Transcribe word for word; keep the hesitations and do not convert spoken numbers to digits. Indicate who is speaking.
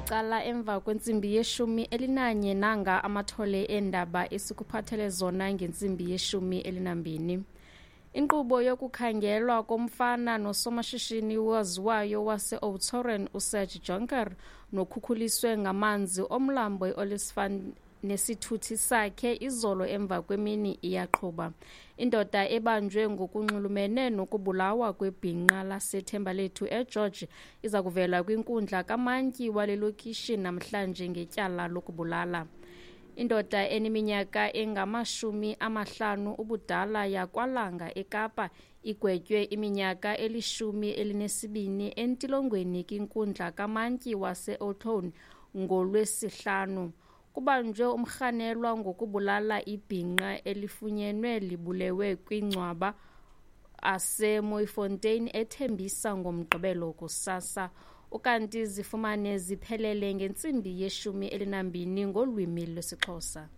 Speaker 1: Licala emva kwentsimbi yeshumi elinanye. Nanga amathole eendaba esikuphathele zona ngentsimbi yeshumi elinambini. Inkqubo yokukhangelwa komfana nosomashishini waziwayo wase-Oudtshoorn uSerge Jonker nokhukhuliswe ngamanzi omlambo i-Olifants nesithuthi sakhe izolo emva kwemini iyaqhuba. Indoda ebanjwe ngokunxulumene nokubulawa kwebhinqa laseThembalethu eGeorge iza kuvela kwinkundla kamantyi wale lokishi namhlanje ngetyala lokubulala. Indoda eneminyaka engamashumi amahlanu ubudala yakwaLanga eKapa igwetywe iminyaka elishumi elinesibini entilongweni kwinkundla kamantyi wase-Oudtshoorn ngoLwesihlanu. Kubanjwe umrhanelwa ngokubulala ibhinqa elifunyenwe libulewe kwingcwaba aseMooifontein eThembisa ngoMgqibelo kusasa. Ukanti zifumane ziphelele ngentsimbi yeshumi elinambini ngolwimi lwesiXhosa.